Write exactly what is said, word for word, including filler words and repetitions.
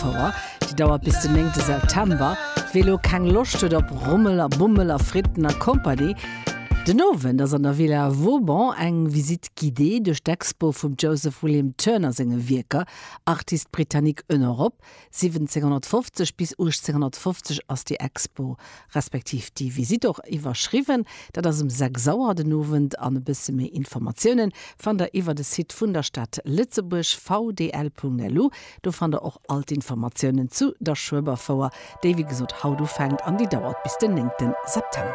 Schueberfouer, déi dauert bis den néngte September. Wie lo keng Loscht huet op Rummel a Bummel a Fritten a Company, den Owend ass an der Villa Vauban eng Visite guidée duerch d'Expo vum Joseph William Turner senge Wierker, Artiste britannique en Europe, siwwenzénghonnertfofzeg bis uechtzénghonnertfofzeg ass déi Expo respektiv déi Visite och iwwerschriwwen. Dat ass um sechs Auer den Owend an e bësse méi Informatiounen fannt der iwwer de Site vun der Stad Lëtzebuerg, vdl.lu. Do fannt der och all d'Informatiounen zu der Schueberfouer, déi wéi gesot haut ufänkt an déi dauert bis den néngte September.